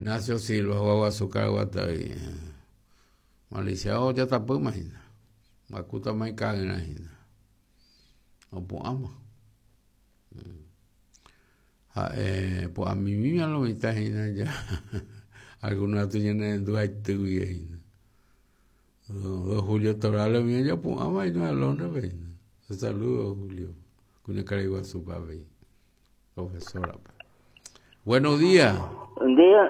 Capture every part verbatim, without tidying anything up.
Ignacio Silva hogaguasu Karaguatavy. Malicia ojatapýma hína. Mba'ekútama ika'yrã hína. Opu'ãma. Ha'e pu'ãmimíma lo mitã hína ja algunos katu ñanerendu haity guive hína. Don Julio Torales umi ojapu'ãva hína Londres-pe hína. Saludos Julio. Kuñakarai guasúpe avei. Profesora-pe. Buenos días. Buen día.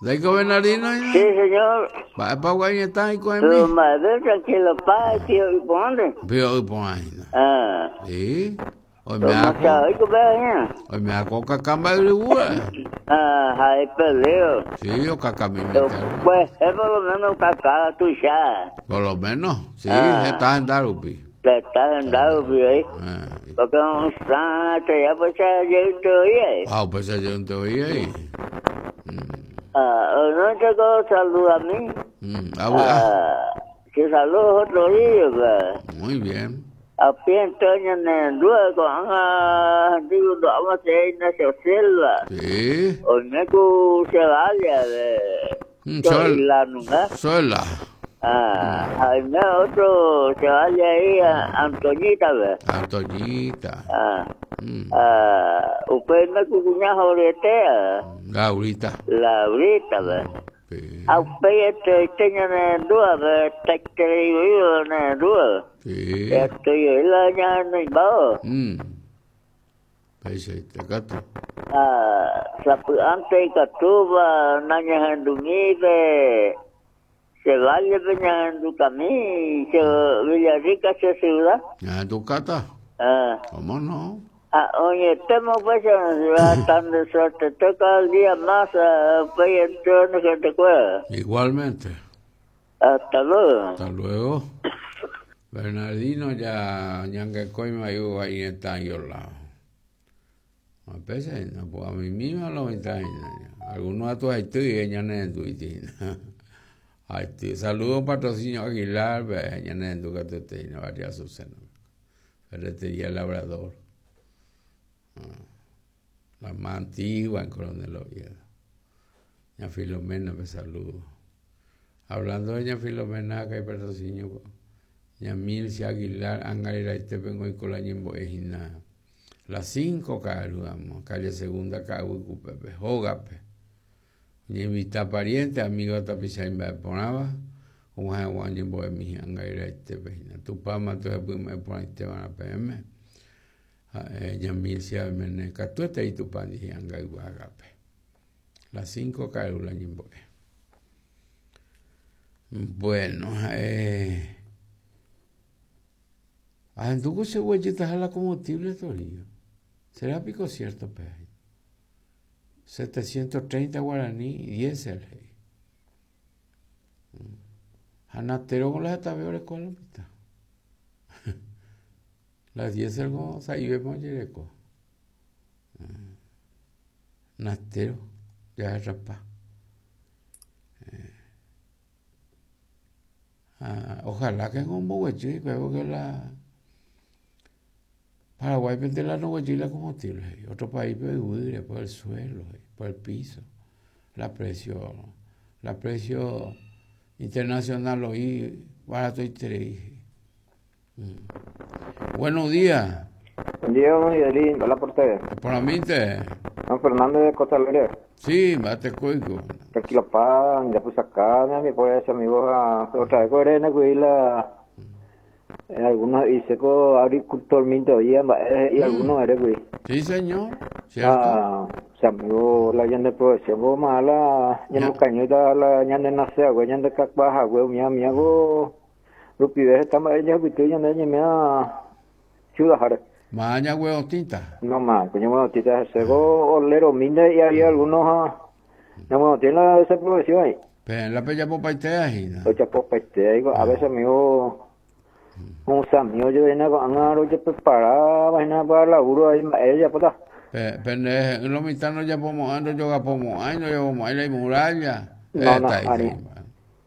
¿Ndaiko Bernardino hína? Sí, señor. Mba'épa gua'ĩeta hikuái Pero madre, tranquilo, pa, tío, ¿y por dónde? Pio yporã hína. Ah, Sí. ¿cómo está hoy, compadre? Oime'áko okaka mba'yryvúre. Ah, ahí perdido. Sí, okakami Pero, mitã. pues, es por lo menos cacá, tuya. Por lo menos, sí, Ah. está en Darupi. Te estás en dado, pues, ahí. Ah, Porque un san, te ya pues, ya yo te oí. Ah, pues yo no te oí ahí. Ah, no te saluda a mí. Mm, ah, bu- ah, Ah, que saludo otro día, pues. muy bien. A pie Antonio Nendúa con Ana digo vamos a Ignacio Silva. Sí. Olmeco se vaya de Mm, Sol- la nunca. Sola. Ah, hay otro se vaya ahí a Antoñita, ve. Antoñita. Ah, Mm, ah, usted me cuña joretea, Laurita. Laurita, ve. Sí. A usted este este Nendúa, ve, te creo Nendúa. Sí. Estoy la ña no iba. Mm. Peixe, te gato. Ah, sapy'ánte ikatúva nañahendumípe se vale pe ñahendukami che Villarrica che ciudad. ¿Ya tu cata? Ah, ¿Cómo no? ah, oñetémo pues en ciudad tan de suerte toca el día más ah, pues entonces que te cueva. Igualmente. Hasta luego. Hasta luego. Bernardino ya ñangekoima iu está lado. A veces no, pues a mí misma lo mitad. Algunos a tu haití y ella no Haití. Saludos patrocinio Aguilar, ve, ñane tu que te María Azucena. Ferretería Labrador. Ah, La más antigua en Coronel Oviedo. Ña Filomena, me saludo. Hablando de ña Filomena, que hay patrocinio, ña Mircia Aguilar, Angarira y Tepengo y Colañimbo Ejina. Las cinco caruamos, calle segunda, Cahuicupepe, Jógape. Ña invita pariente, amigo tapichaimba ponaba, un guañimbo de mi Angarira y Tepejina. Tupama, tu me poniste van a P M. Ña Mircia mene catuete y tupandi Angaiguagape. Las cinco carula ñimbo. Bueno, eh. Ajenduco se huellita la combustible torillo. ¿Será pico cierto, pe? setecientos treinta guaraní y diésel. Janatero con las etabeores con la mitad. Las diésel con saibe moyereco. Nastero, ya es rapá. Ah, ojalá que en un bohuechi, creo que la Paraguay pende la no la combustible, otro país puede huir por el suelo, por el piso, la precio, la precio internacional hoy barato y tres. Mm. Buenos días. Buen día, don Miguelín. Hola por ustedes. Por mí te. Don Fernando de Costa Alegre. Sí, mate cuico. Tranquilo, pan, ya puse acá, mi pobre amigo, a, otra vez con Elena, cuí la, en algunos dice que agricultor minto y, y algunos eres güey. Sí, señor. Cierto. Ah, se amigo la ñande producción como mala, ñande cañota la ñande nace, güey, ñande cacuaja, güey, mi amigo Rupi está más ella güey, ñande ñe ciudad jare. Maña güey tinta. No más, coño güey tinta se go olero minde y había algunos ah, no bueno, tiene la esa producción ahí. Pero en la peña popaitea hina. Ocha popaitea, digo, a veces amigo un amigo yo venía con angaro yo preparaba vaina para laburo ahí ella puta. Pero en los mitad no ya pomo ando yo pomo ay no yo pomo ahí la muralla. No, no, ari.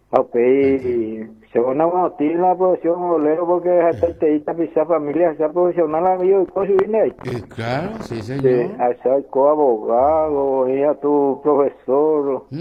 Ha upéi che onaguatĩ la profesión olero porque hetaitei tapicha familia esa profesional avei oiko chugui ndéi. Eh, claro, sí, Sí, señor. ahecha oiko abogado, oĩ tu profesor. Mm.